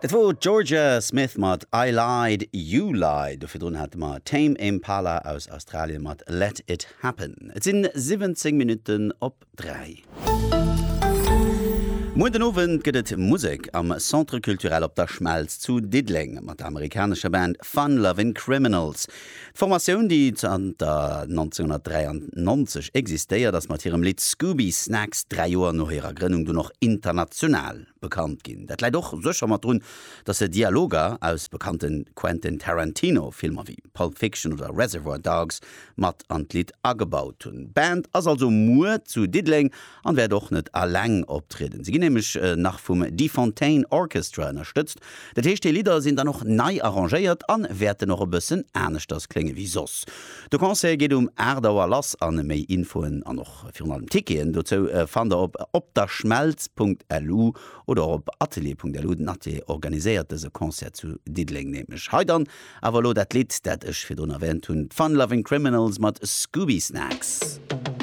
Dat wor d'Jorja Smith mat I Lied, You Lied. Do virdrun hate mer Tame Impala aus Australien mat Let It Happen. Et sinn 17 Minutten op 3. Muer den Owend gëtt et Musek am Centre Culturel Op der Schmelz zu Diddeleng mat der amerikanescher Band Fun Lovin' Criminals. D'Formatioun, déi zanter 1993 existéiert, ass mat hirem Lidd Scooby Snacks 3 Joer no hirer Grënnung dunn och international bekannt ginn. Dat läit och sécher mat drun, datt se Dialoger aus bekannte Quentin Tarantino Filmer wéi Pulp Fiction oder Reservoir Dogs mat an d'Lidd agebaut hunn. D'Band ass also muer zu Diddeleng an wäert och net alleng optrieden. Se ginn nämlech nach vum Defontaine Orchestra ënnerstëtzt. Dat heescht déi Lidder sinn dann och nei arrangéiert an wäerten och e bëssen aneschters klénge wéi soss. De Concert geet um 8 Auer lass an méi Infoen an och Virun allem Ticketen dozou fannt der op opderschmelz.lu oder och op atelier.lu. Den Atelier organiséiert dëse Concert zu Diddeleng nämlech. Hei dann awer elo dat Lidd, dat ech virdrun erwähnt hunn, d'Fun Loving Criminals mat Scooby Snacks.